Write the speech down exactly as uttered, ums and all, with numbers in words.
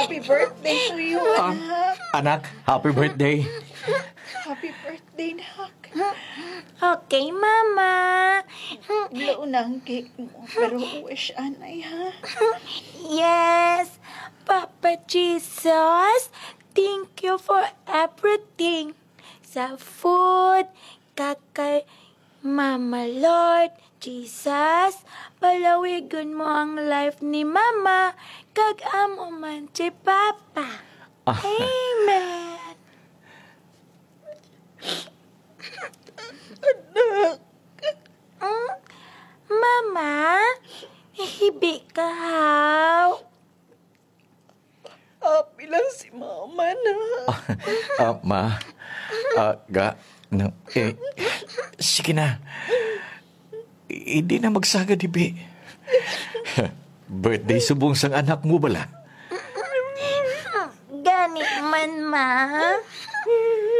Happy birthday to you, Ah, anak. Anak, happy birthday. Happy birthday, nak. Okay, Mama. Law na ang cake mo, pero wish anay, ha? Yes, Papa Jesus, thank you for everything. Sa food, kag kay Mama Lord, Jesus, palawigon mo ang life ni Mama, kag amo man si Papa. Ah. Amen. Anak. Mm, Mama, hibi ka, haw. Happy lang si Mama na. Ah, ma. Ah, ga, no, eh, sige na. Hindi na magsagad, hibi. Birthday subong sang anak mo bala. Gani man, ma.